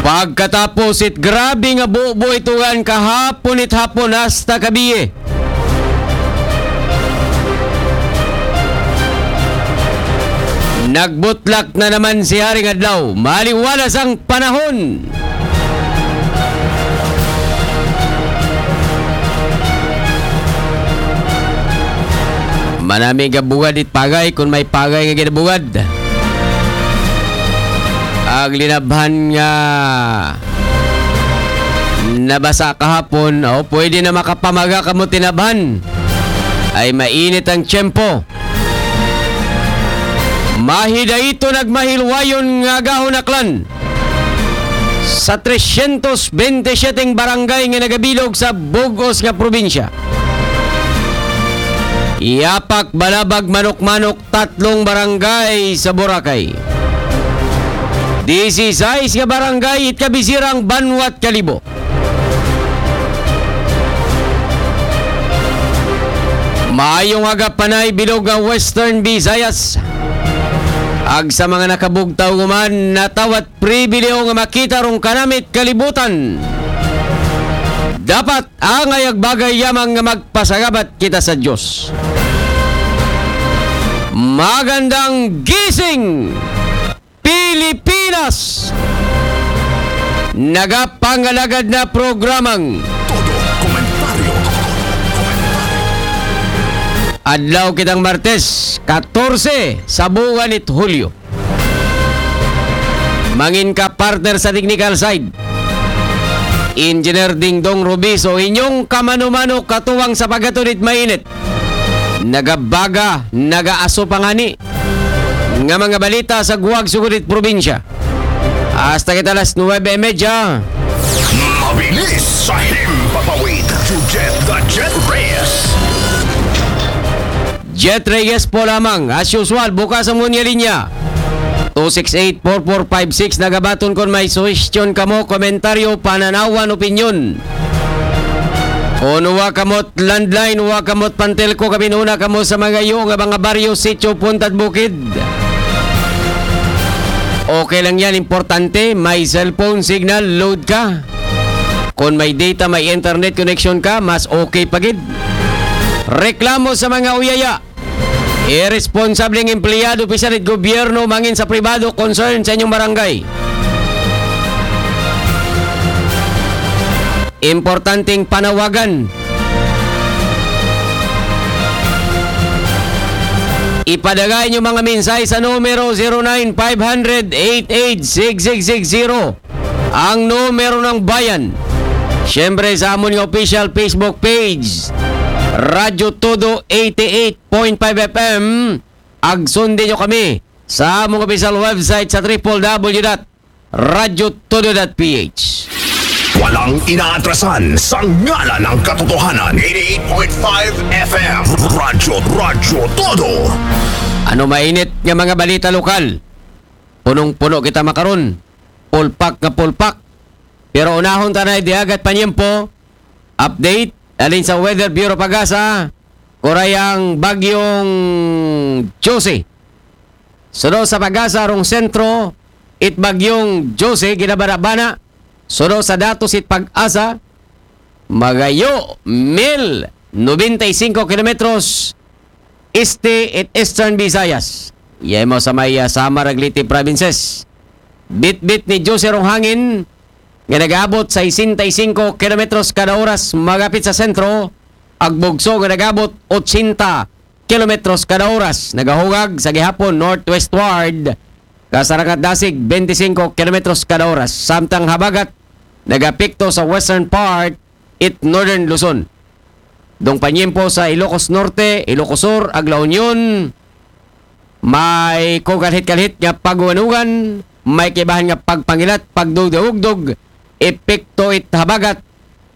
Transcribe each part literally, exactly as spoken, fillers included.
Pagkatapos it grabe nga bubo itugan kahapon it hapon hasta kabiye. Nagbutlak na naman si Haring Adlaw. Maliwalas ang panahon. Manami nga bugad it pagay kung may pagay nga ginabugad. Ang linabhan nga nabasa kahapon, o pwede na makapamaga kamo tinabhan. Ay mainit ang tiyempo. Mahidayto nagmahilwayon nga gahon aklan sa tresyentos bente siyete barangay nga nagabilog sa bug-os nga probinsya. Yapak, Balabag, Manok-Manok, tatlong barangay sa Boracay. Disisais nga barangay it kabisirang banwat Kalibo. Maayong aga panay bilog nga Western Visayas. Ag sa mga nakabugtaw human, natawat pribileho nga makita rong kanamit kalibutan. Dapat angay ag bagay yamang nga magpasagabat kita sa Diyos. Magandang gising, Pilipinas! Nagapangalagad na programang Todo Komentaryo. Adlaw kitang Martes, katorse sa buwan it Hulyo. Mangin ka partner sa technical side, Engineer Dingdong Rubiso, inyong kamano-mano katuwang sa pagkatulit mainit. Nagabaga, nagaaso pa ngani nga mga balita sa guwag sugod it probinsya. Hasta kita alas nuwebe y media. Mabilis sa himpapawid, Jujet the Jet Reyes. Jet Reyes po lamang. As usual, bukas ang munya linya. Two six eight, four four five six, nagabaton kon may suhestyon kamo, komentaryo, pananawan, opinyon. Kon wa kamot landline, wa kamot pantelko, kabinuna kamo sa mga iyo nga mga baryo, sityo, puntad bukid. Okay lang yan, importante, may cellphone signal, load ka. Kon may data, may internet connection ka, mas okay pa gid. Reklamo sa mga uyaya. Irresponsableng empleyado, opisyal it gobyerno, mangin sa pribado, concern sa inyong barangay. Importanteng panawagan. Ipadagay inyo mga mensahe sa numero zero nine five hundred eight eight six six six zero. Ang numero ng bayan. Siyempre sa amon nga official Facebook page, Radyo Todo eighty-eight point five F M. Ag sundin nyo kami sa among official website sa triple W dot radyo todo dot P H. Walang inaatrasan sa ngalan ng katotohanan. Eighty-eight point five F M. Radyo, Radyo Todo. Ano mainit nga mga balita lokal? Punong-puno kita makaron. Pulpak nga pulpak. Pero unahon ta na diagat panyempo. Update alin sa Weather Bureau Pagasa, kuray ang bagyong Jose. Suno sa Pagasa rong sentro, it bagyong Jose ginabana-bana. Suno sa datos it Pag-asa, magayo mil nobenta y cinco kilometros este it Eastern Visayas. Yay mo sa may, ah, Samar ag Leyte provinces. Bitbit ni Jose rong hangin nga nagaabot sesenta y cinco kilometros kada oras magapit sa sentro, ag bugso nga nagaabot ochenta kilometros kada oras. Nagahugag sa gihapon northwestward, kasarangan dasig twenty-five kilometros kada oras. Samtang habagat nagapekto sa western part it northern Luzon. Dong panyempo sa Ilocos Norte, Ilocos Sur, ag La Union, may kogalhit-galhit nga paguwanugan, may kaibahan nga pagpangilat, pagdugdugdog, epekto it habagat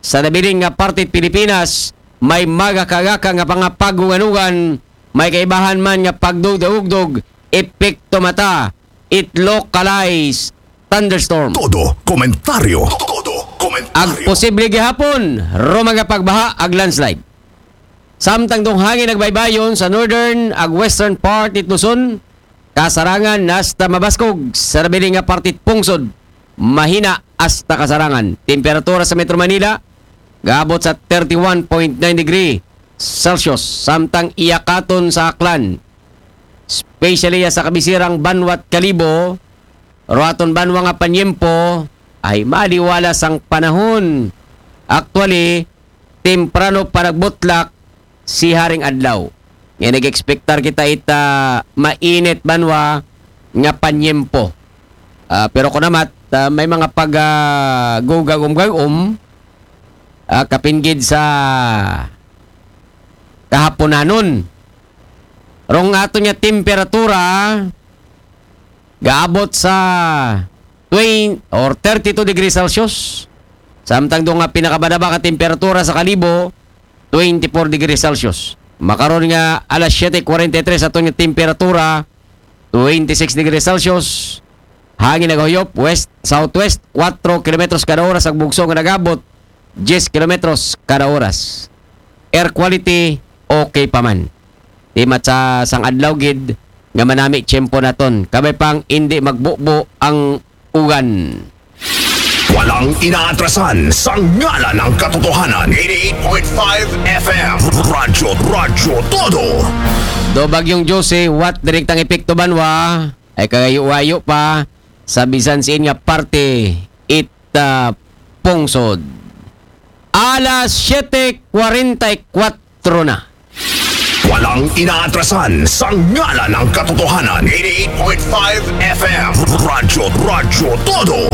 sa nabilin nga parte it Pilipinas, may magakagaka nga mga paguwanugan, may kaibahan man nga pagdugdugdog, epekto mata it localized thunderstorm. Todo komentaryo. Todo komentaryo. Ag posible gihapon ro mga pagbaha ag landslide. Samtang dong hangin nagbaybayon sa northern ag western part it Luzon, kasarangan hasta mabaskog sa nabilin nga parte it pungsod. mahina hasta kasarangan. Temperatura sa Metro Manila, gaabot sa thirty-one point nine degree Celsius. Samtang iyakaton sa Aklan, especially sa kabisirang banwa't Kalibo, ro aton banwa nga panyempo, ay maliwala sang panahon. Actually, temprano pa nagbutlak si haring adlaw. Nga nag-expectar kita ita mainit banwa nga panyempo. Ah, pero kunamat, ah, may mga pag, ah, gugagum-gagum, ah, kapinggid sa kahaponanon. Rong ato niya temperatura, gaabot sa twenty or thirty-two degrees Celsius. Samtang doon nga pinakababa nga temperatura sa Kalibo, twenty-four degrees Celsius. Makaron nga alas siyete kwarenta y tres ato nga temperatura, twenty-six degrees Celsius. Hangin nagahuyop, west, southwest, four kilometros kada oras ang bugso nga nagabot, ten kilometros kada oras. Air quality, okay pa man. Di mat sa sang adlaw gid nga manami tiyempo naton. Kabay pang hindi magbubo ang ugan. Walang inaatrasan sa ngalan ng katotohanan. eighty-eight point five F M. Radyo, Radyo Todo. Do Bagyong Jose, what direktang epekto banwa ay kagayo-wayo pa sa bisan siin nga parte it ah, pungsod. Alas siyete kwarenta y kwatro na. Walang inaatrasan sa ngalan ng katotohanan. eighty-eight point five F M. Radyo, Radyo Todo.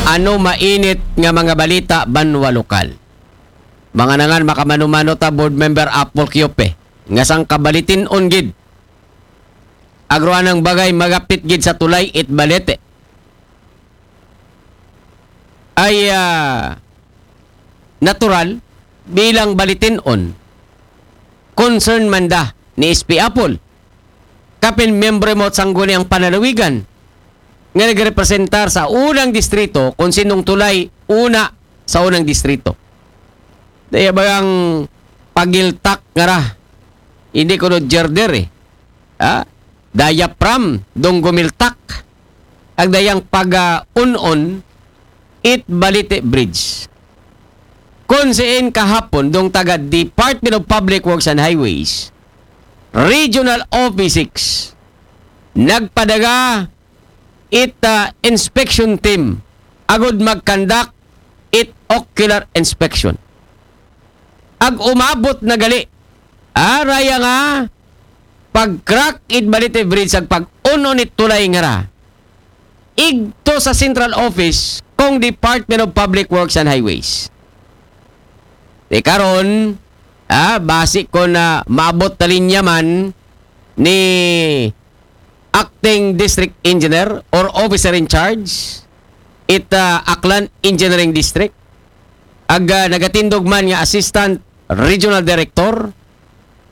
Ano mainit nga mga balita banwa lokal? Mga nangan makamano-mano ta, Board Member Apple Kiope, nga sang kabalitin-on gid. Agroanang bagay magapit gid sa tulay it balete. Ay ah, natural bilang balitin-on, concern man da ni S P Apple. Kapin miyembro mo sangguni ang panalawigan nga nagrepresentar sa unang distrito kung sinong tulay una sa unang distrito. Daya bagang pagiltak nga ra. Hindi ko do gerder eh. Ha? Diaphragm, dong gumiltak. Ang dayang pag-unon, it Balite Bridge. Kung siin kahapon, dong taga Department of Public Works and Highways, Regional Office six, nagpadaga it ah, inspection team agud mag-conduct it ocular inspection. Ag umabot na gali, ah, raya nga pag-crack it Balite Bridge ag pag-unon it tulay nga ra. Igto sa central office kung Department of Public Works and Highways. Di karon, ah, basi ko na maabot na linya man ni acting district engineer or officer in charge it ah, Aklan Engineering District. Ag ah, nagatindog man nga assistant regional director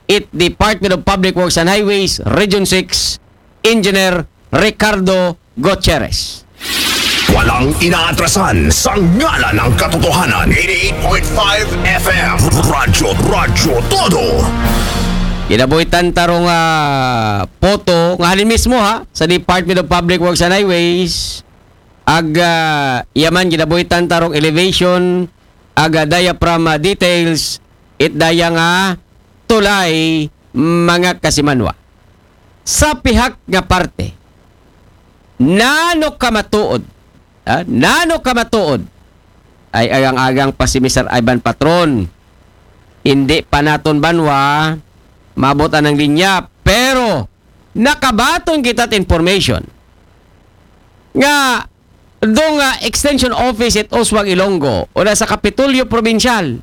it Department of Public Works and Highways Region six, Engineer Ricardo Gutierrez. Walang inaatrasan sa ngalan ng katotohanan. eighty-eight point five F M. Radyo, Radyo Todo. Ginabuhitan ta rong ah, photo nga halin mismo ha sa Department of Public Works and Highways. Ag ah, yaman ginabuhitan ta rong elevation, ag ah, diaphragm ah, details, it daya nga tulay mga kasimanwa. Sa pihak nga parte, nano ka matuod, ah, nano ka matuod, ay agang-agang pa si Mister Ivan Patron. Hindi pa naton banwa maabot ang linya, pero nakabaton kita information nga dong ah, extension office it Oswag Ilonggo o na sa Kapitolyo Probinsyal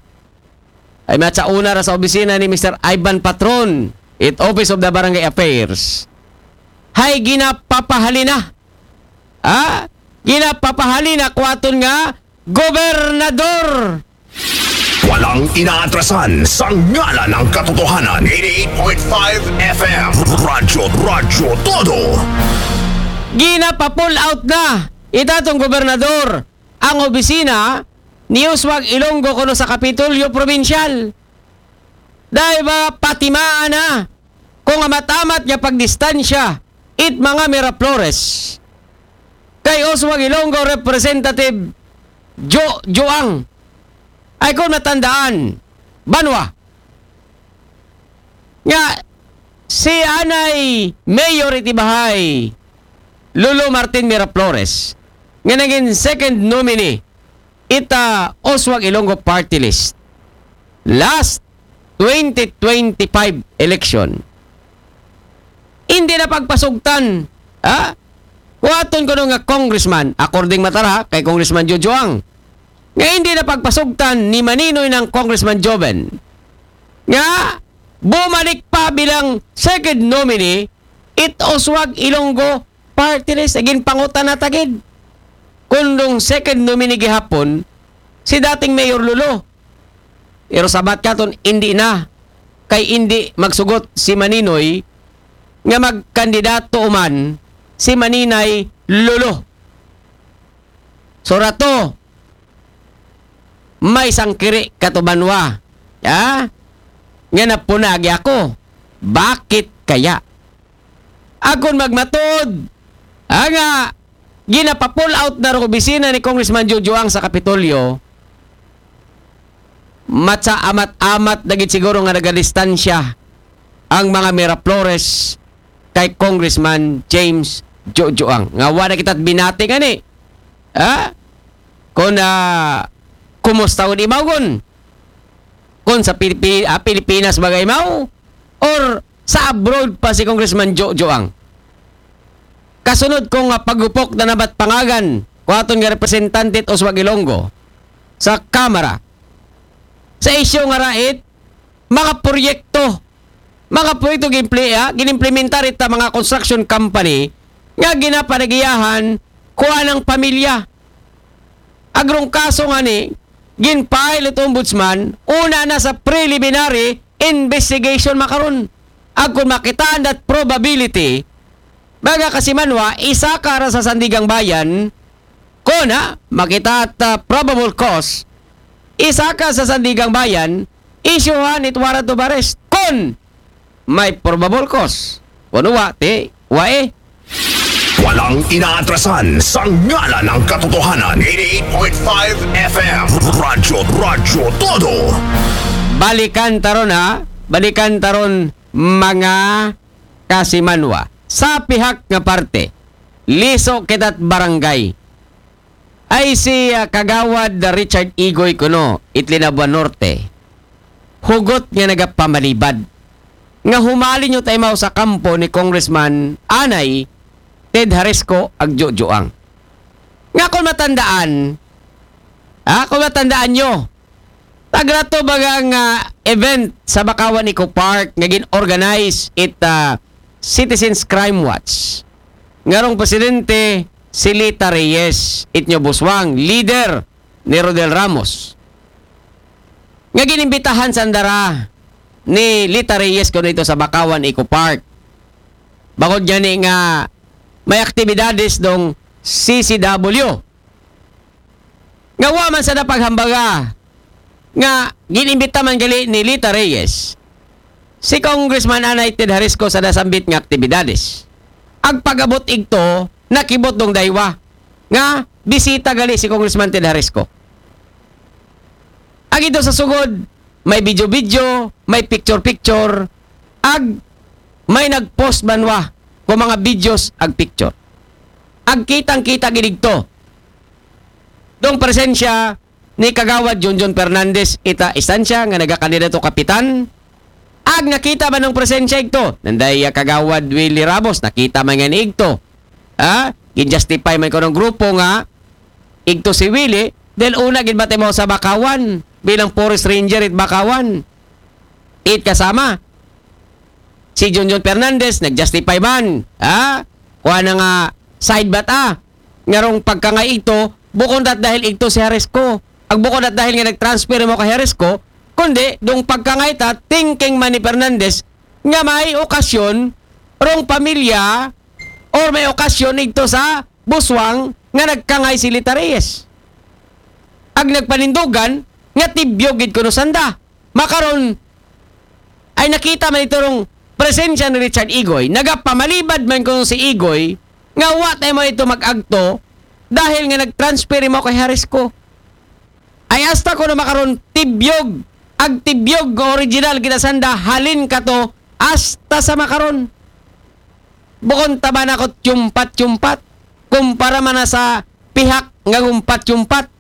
ay mat sa una ra sa opisina ni Mister Ivan Patron it Office of the Barangay Affairs. Hay ginapapahalina. Ha? Ginapapahalina kuwaton nga gobernador. Walang inaatrasan sa ngalan ng katotohanan. eighty-eight point five F M. Radyo, Radyo Todo. Ginapapull out na itatong gobernador ang opisina ni Oswag Ilonggo kuno sa Kapitolyo Probinsyal. Dahil ba patimaan na kung amat-amat nga pagdistansya it mga Miraflores. kay Oswald Ilonggo, Representative Jo Joang. Ay kon matandaan, banwa nga si anay mayor iti bahay, Lolo Martin Miraflores, nga naging second nominee ita Oswald Ilonggo party list last twenty twenty-five election. Hindi na pagpasugtan, ha? Kuaton ko nga congressman, according matara kay Congressman Jojoang, nga hindi na pagpasugtan ni Maninoy ng Congressman Joven, nga bumalik pa bilang second nominee it Oswald Ilonggo party list. Agin pangutan na tagid. Kundong second nominee gihapon, si dating Mayor Lolo. Pero sabat katon, hindi na. Kay hindi magsugot si Maninoy nga magkandidato uman si Maninay Lolo. So rato, may sangkiri katubanwa. Ha? Nga napunagi ako. Bakit kaya? Akon magmatod, ha, nga ginapa-pull out na ro opisina ni Congressman Jojoang sa Kapitolyo, matsa amat-amat dagit siguro nga nagadistansya ang mga Miraflores kay Congressman James Jojoang. Nga wala kita binati ngani. Ha? Kung, ah, kumusta ang imaw kon? Kung sa Pilipi-, ah, Pilipinas bagay imaw? Or sa abroad pa si Congressman Jojoang? Kasunod ko nga pagupok na nabat pangagan ko aton nga representante it Oswald Ilonggo sa Kamara, sa isyu nga rait, mga proyekto, mga proyekto ginpli-, ah, ginimplementar ita mga construction company nga ginapanagiyahan kuan ang pamilya. Agrong kaso nga ni, ginfile it ombudsman, una na sa preliminary investigation makaron. Agkon makitaan that probability, mga kasimanwa, isaka ra sa Sandigang Bayan, kon ha, makita at, ah, probable cause, isaka sa Sandigang Bayan, isyuhan it warrant of arrest. Kon may probable cause. Kon wa, ti, wa eh. Walang inaatrasan sa ngalan ng katotohanan. Eighty-eight point five F M. Radyo, Radyo Todo. Balikan taron ha. Balikan taron mga kasimanwa. Sa pihak nga parte, liso kita't barangay. Ay si, ah, Kagawad Richard Igoy kuno, it Linabuan Norte. Hugot nga nagapamalibad. Nga humalinyo tayo sa kampo ni Congressman Anay Ted Harisco Agjojoang. Nga kung matandaan, ha, kung matandaan nyo, tagrato baga nga event sa Bakawan Eco Park nga gin-organize it, ah, Citizens Crime Watch. Ngarong presidente si Lita Reyes, it nyo buswang, leader ni Rodel Ramos. Nga ginimbitahan sandara ni Lita Reyes kuno ito sa Bakawan Eco Park. Bangod gani nga may aktibidades dong C C W. Nga wa man sa napaghambaga nga ginimbita man gali ni Lita Reyes si Congressman Anay Ted Harisco sa nasambit nga aktibidades. Agpag-abot igto, nakibot dong daywa nga bisita gali si Congressman Ted Harisco. Ag ito sa sugod, may video-video, may picture-picture, ag may nag-post banwa ko mga videos ag picture. Ag kitang-kita gidigto dong presensya ni Kagawad Junjun Fernandez ita istansya nga nagakandidato kapitan. Ag nakita man dong presensya igto, nanday, ah, Kagawad Willie Ramos, nakita man nga ni igto. Ha? Gin-justify man ko ng grupo nga igto si Willie, dahil una gid ba tayo sa Bakawan bilang forest ranger it Bakawan. It kasama si Junjun Fernandez, nag-justify man. Ha? Kuha na nga side bat, ah. Ngarong pagkangay ito, bukon dat dahil ito si Harisco. Ag bukon dat dahil nga nag-transfer mo kay Harisco, kundi dong pagkangay ta, thinking man ni Fernandez nga may okasyon rong pamilya or may okasyon igto sa buswang nga nagkangay si Lita Reyes. Ag nagpanindugan nga tibyog gid kuno sanda. Makaron ay nakita man ito rong presensya ni Richard Igoy, nagapamalibad man kuno si Igoy nga wa tayo mo ito mag-agto dahil nga nag-transfer imo kay Jalisco. Ay hasta kuno makaron tibyog, ag tibyog nga original gid sanda halin kato hasta sa makaron. Bukon ta ba nako tiyumpat-tiyumpat, kumpara man na sa pihak nga gumpat-tiyumpat.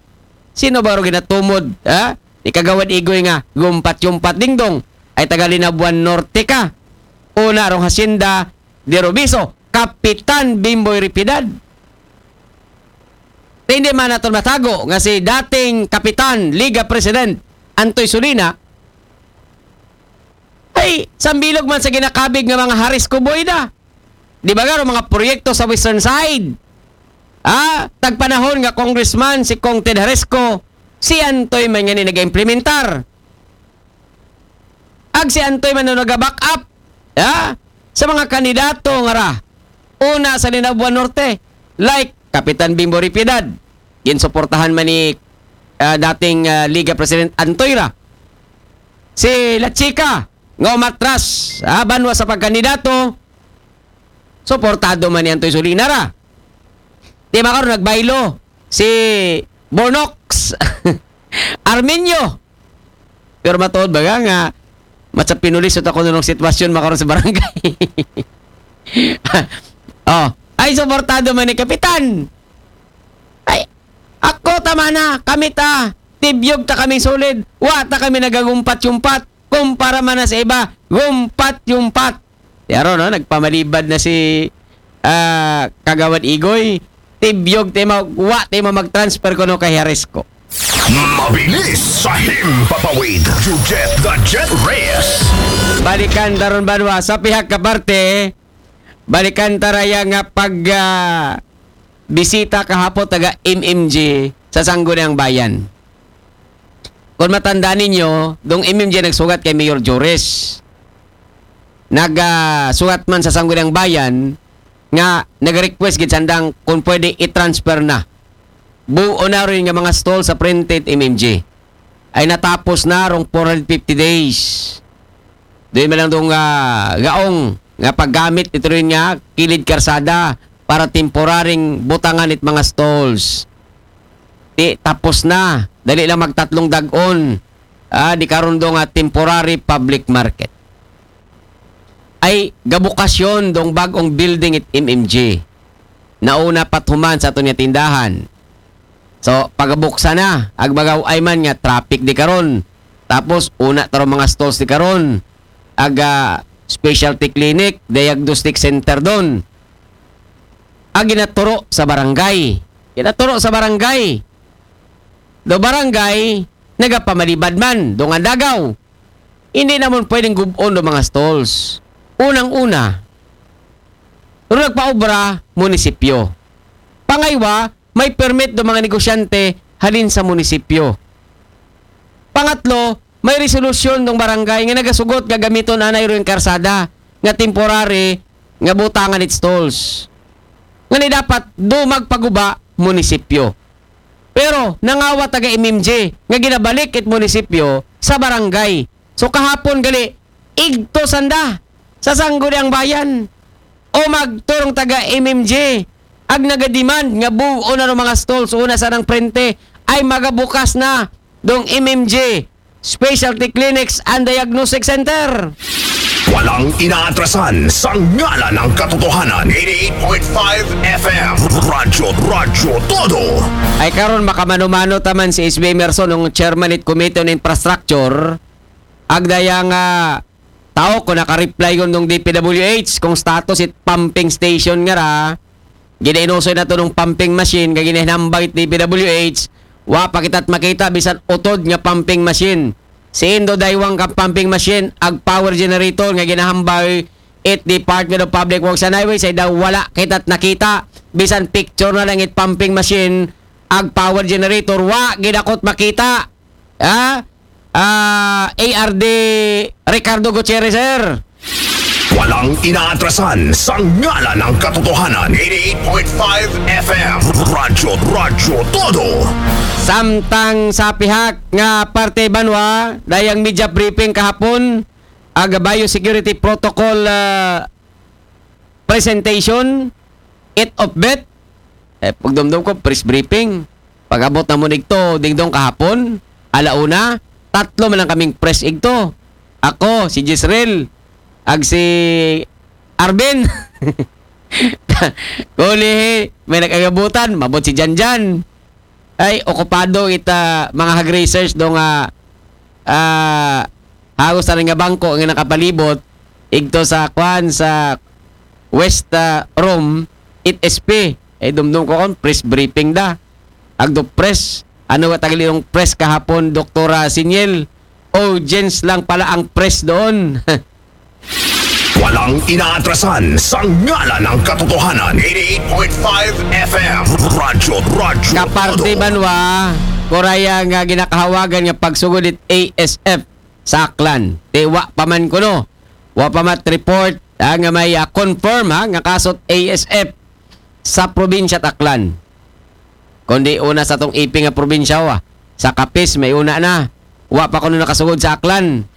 Sino ba ro ginatumod, ha? Ni Kagawad Igoy nga gumpat-tiyumpat, dingdong, ay taga Linabuan Norte ka. Una rong hacienda de Robiso, Kapitan Bimboy Ripidad. Te, hindi man naton matago nga si dating Kapitan Liga President Antoy Solina ay sambilog man sa ginakabig nga mga Jalisco boy na. Di ba garo mga proyekto sa Western Side? Ah, tagpanahon nga congressman si Cong Ted Jalisco, si Antoy man nga ni nag-implementar. Ag si Antoy man daw naga-back up, ha? Sa mga kandidato nga ra, una sa Linabuan Norte, like Kapitan Bimbo Ripidad, ginsuportahan man ni, ah, dating, ah, Liga President Antoy ra. Si La Chica, nga umatras, ah, banwa sa pagkandidato, suportado man ni Antoy Solina ra. Di ba karon nagbaylo si Bornox Arminio? Pero matuod ba nga, nga matsa pinulis ako nung sitwasyon makaron sa barangay? Oh, ay suportado man ni Kapitan. Ay, ako tama na, kami ta, tibyog ta kami solid, wa ta kami nagagumpat-yumpat, kumpara man na sa iba, gumpat-yumpat. Yaro, no? Nagpamalibad na si, ah, Kagawad Igoy. Tibyog, tema, wa, tema mag-transfer ko, no, kay Jalisco. Mabilis sa himpapawid. You get the jet race. Balikan taron banwa sa pihak ka parte. Balikan taraya nga pag, ah, bisita kahapon taga M M G sa Sangguniang Bayan. Kung matandaan ninyo, dong M M G nagsugat kay Mayor Joris. Nagsugat man sa Sangguniang Bayan nga nag-request gid sandang kung pwede i-transfer na. Buo na rin nga mga stall sa printed M M G. Ay natapos na rong four hundred fifty days. Doon man lang dong, ah, gaong nga paggamit ito rin nga kilid karsada para temporaring butangan it mga stalls. Di, tapos na. Dali lang magtatlong dagon. Ah, di karon do nga temporary public market. Ay gabukasyon dong bag-ong building it M M G. Nauna pat human sa aton nga tindahan. So, pagabuksa na, ag magaw ay man nga traffic di karon. Tapos, una taro mga stalls di karon. Aga specialty clinic, diagnostic center doon. Ag ginaturo sa barangay. Ginaturo sa barangay. Do barangay, nagapamalibad man, do nga dagaw. Hindi naman pwedeng gubon do mga stalls. Unang-una, ro nagpaobra, munisipyo. Pangaywa, may permit do mga negosyante halin sa munisipyo. Pangatlo, may resolusyon ng barangay nga nagasugot nga gamiton anay ro yung karsada nga temporary nga butangan it stalls. Nga ni dapat do magpaguba munisipyo. Pero nangawa taga M M G nga ginabalik it munisipyo sa barangay. So kahapon gali, igto sanda sa Sangguniang Bayan. O magturong taga M M G, ag nagademand nga buo na ng mga stalls una sa nang prente ay magabukas na dong M M G, specialty clinics and diagnostic center. Walang inaatrasan sa ngalan ng katotohanan. eighty-eight point five F M. Radyo, Radyo Todo. Ay karon makamano-mano taman si S B Emerson, ng chairman it Committee on Infrastructure, ag daya nga tao ko naka-reply ko nung D P W H kung status it pumping station nga ra, ginainusoy na to nung pumping machine, kay ginahinambag it D P W H, wa pa kita't makita bisan utod nga pumping machine. Si Indo Daywang ka pumping machine, ag power generator nga ginahambay it Department of Public Works and Highways ay daw wala kita't nakita. Bisan picture na lang it pumping machine, ag power generator, wa gidakot makita. Ha? Ah, A R D Ricardo Gutierrez, sir. Walang inaatrasan sa ngalan ng katotohanan. eighty-eight point five F M. Radyo, Radyo Todo. Samtang sa pihak nga parte banwa, dayang media briefing kahapon, aga biosecurity protocol, ah, presentation, it of bet, Eh, pagdumdum ko, press briefing. Pag-abot na mo nigto, dingdong kahapon, ala una, tatlo man lang kaming press igto. Ako, si Jezreel, ag si Arvin. Kuli, may nag-agabutan, mabot si Janjan. Ay, okupado ita mga hag-research do nga, ah, hagos na nga bangko nga nakapalibot, igto sa kwan sa West, ah, Rome, it S P. Ay, dumdum ko kon, press briefing da. Agdo press. Ano ba tagalog press kahapon, Doktora Siniel? Audience lang pala ang press doon. Walang inaatrasan sa ngalan ng katotohanan. Eighty-eight point five F M. Radyo, radyo. Kaparte banwa, kuraya nga ginakahawagan nga pagsugod it A S F sa Aklan. Te wa pa man kuno. Wa pa mat report, ha, nga may, ah, confirm, ha, nga kasot A S F sa probinsya Aklan. Kundi una sa tong ipi nga probinsya, wa. Sa Capiz, may una na. Wa pa kuno nakasugod sa Aklan.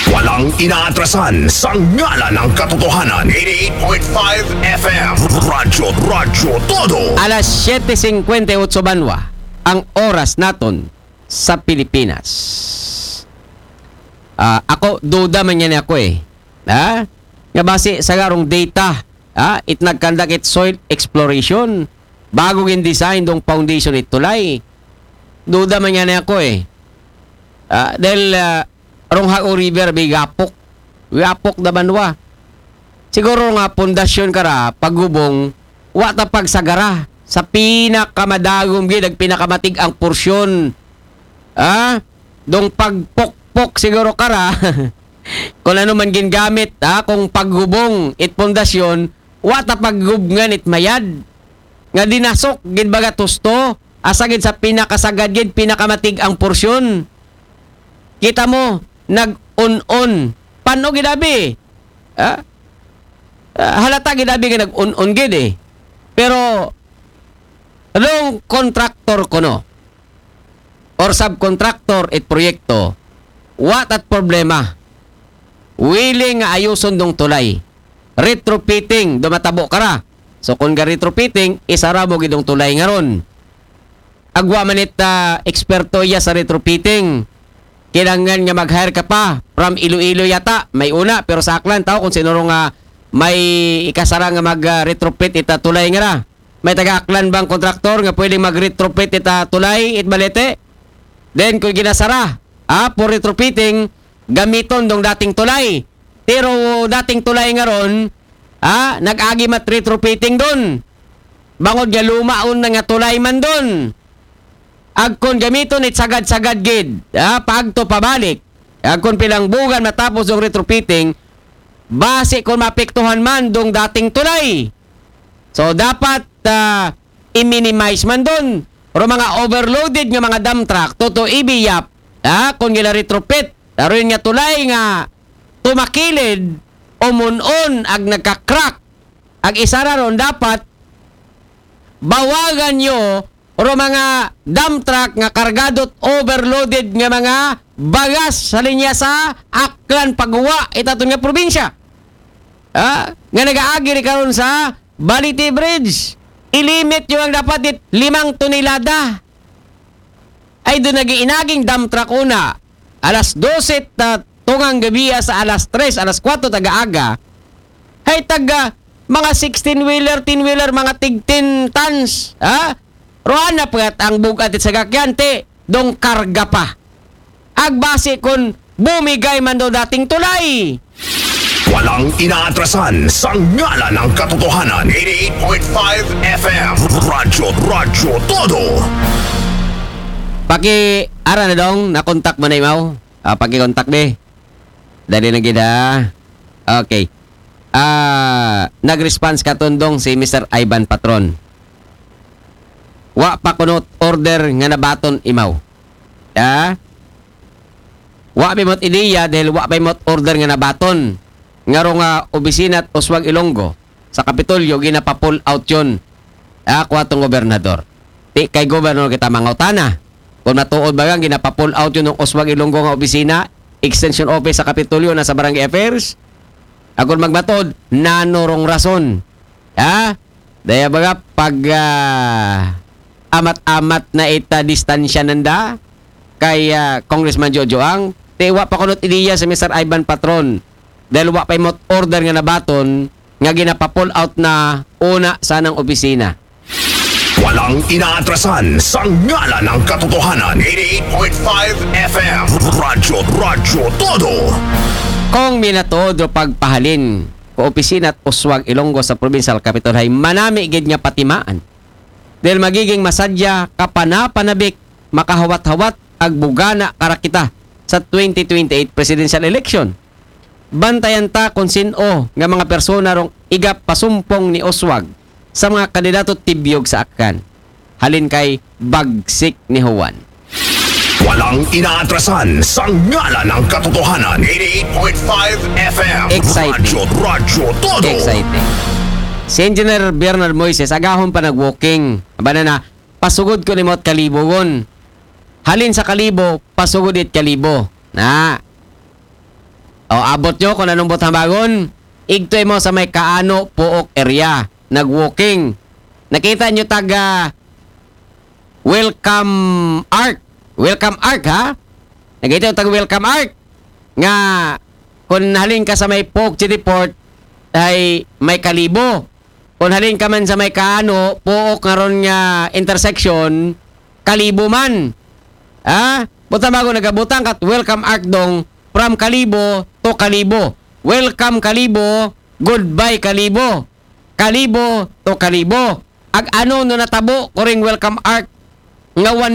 Walang inaatrasan sa ngalan ng katotohanan. Eighty-eight point five F M. Radyo, radyo, todo. Alas siyete singkwenta y otso banwa ang oras naton sa Pilipinas. Ah, ako, duda man yan ako eh. Ha? Nga base sa garong data, ha? It nagkandak it soil exploration bago gin-design dong foundation it tulay. Duda man yan ako eh. Ah, dahil, ah, rong Hago River, bay gapok. Gapok da banwa. Siguro nga pundasyon kara, paghubong, wa ta pagsagara sa pinakamadagom gid, ag pinakamatig-ang porsyon. Ah? Dong pagpokpok siguro kara. Kung ano man gingamit, ha, kung paghubong it pundasyon, wa ta paghubngan it mayad. Nga dinasok gid baga tusto, asa gid sa pinakasagad gid, pinakamatig-ang porsyon. Kita mo, nag-un-un. Pano gid abi? Ha? Ah, halata gid abi nga nag-un-un gid eh. Pero, rong contractor kuno or subcontractor it proyekto, wa tat problema. Willing nga ayuson dong tulay. Retrofitting, do matabo kara. So, kung ga retrofitting, isara mo gid dong tulay nga ron. Ag wa man it, ah, eksperto iya sa retrofitting. Kinahanglan nga mag-hire ka pa from Iloilo yata. May una, pero sa Aklan, tao kung sinuro nga may ikasara nga mag, ah, retrofit ita tulay nga ra. May taga-Aklan bang kontraktor nga pwedeng mag-retrofit ita tulay, it balete? Then, kung ginasara, ah, for retrofitting, gamiton dong dating tulay. Pero dating tulay nga ron, ah, nag-agi mat retrofitting don. Bangod nga lumaon na nga tulay man don. Agkon gamiton it sagad-sagad gid, ah, paagto pabalik. Agkon pilang bugan matapos dong retrofitting, base kung mapektuhan man dong dating tulay. So, dapat, ah, i-minimize man don. Pero mga overloaded nga mga dump truck, toto ibiyap, ah, kung gila retrofit. Daron nga tulay nga tumakilid, umun-un, ag nagka-crack. Ag isara ron, dapat bawagan nyo ro mga dump truck nga kargadot overloaded nga mga bagas sa linya sa Aklan pagwa itaton nga probinsya. Ah, nga nagaagi ri karon sa Balite Bridge. Ilimit nyo ang dapat it limang tonelada. Ay doon nag-iinaging dump truck una. Alas dose ta tungang gabi sa alas tres, alas kwatro taga-aga. Hay taga mga sixteen-wheeler, ten-wheeler, mga tig ten tons. Ha? Rohan na pwat ang bugat it sagakyan, te, dong karga pa. Agbasi kun bumigay man daw dating tulay. Walang inaatrasan sa ngalan ng katotohanan. Eighty-eight point five F M. Radyo, radyo, todo. Paki ara na dong, nakontak mo na imaw. Ah, paki-contact be. Dali na gid ha. Okay. Ah, nag-response katundong si Mister Ivan Patron. Wa pa kuno order nga nabaton imaw. Ha? Wa pa mo't ideya dahil wa pa mo't order nga nabaton. Nga ro nga opisina at Oswag Ilonggo sa Kapitolyo, ginapa-pull out yun. Ah, kuwatong gobernador. Ti kay gobernador kita mangutana. Kung matuod ba nga ginapa-pull out yun ng Oswag Ilonggo nga opisina, extension office sa Kapitolyo na sa Barangay Affairs? Agon magmatuod, nano rong rason? Ha? Daya baga pag ah, amat-amat na ita distansya nanda kay ah, Congressman Jojo Ang, ti wa pa kunot ideya si Mister Ivan Patron dahil wa pa imot order nga nabaton nga ginapa-pull out na una sanang opisina. Walang inaatrasan sa ngalan ng katotohanan. Eighty-eight point five F M. Radyo, Radyo Todo. Kung minatuod ro pagpahalin ko opisina at uswag Ilonggo sa Provincial Capitol hay manami gid nga patimaan. Dahil magiging masadya kapanapanabik makahawat-hawat ag bugana karakita sa twenty twenty-eight presidential election. Bantayan ta kung sino nga mga persona rong igap pasumpong ni Oswag sa mga kandidato tibyog sa akkan. Halin kay bagsik ni Juan. Walang inaatrasan sa ngalan ng katotohanan. Eighty-eight point five F M. Exciting. Radyo, Radyo Todo. Exciting. Si Engineer Bernard Moises, agahon pa nag-walking. Aba na na, pasugod ko ni Mot Kalibo gon. Halin sa Kalibo, pasugod it Kalibo. Na. O, abot nyo kung anong butang bagon. Igto mo sa may Kaano, Puok area. Nag-walking. Nakita nyo taga Welcome Arc. Welcome Arc, ha? Nakita nyo taga Welcome Arc. Nga, kung halin ka sa may Puok City Port, ay may Kalibo. Kung halin ka man sa may Kaano, Puok nga ron nga intersection, Kalibo man. Ha? Butang bago nagabutang kat Welcome Arc dong from Kalibo to Kalibo. Welcome Kalibo, goodbye Kalibo. Kalibo to Kalibo. Ag ano no natabo kuring Welcome Arc nga one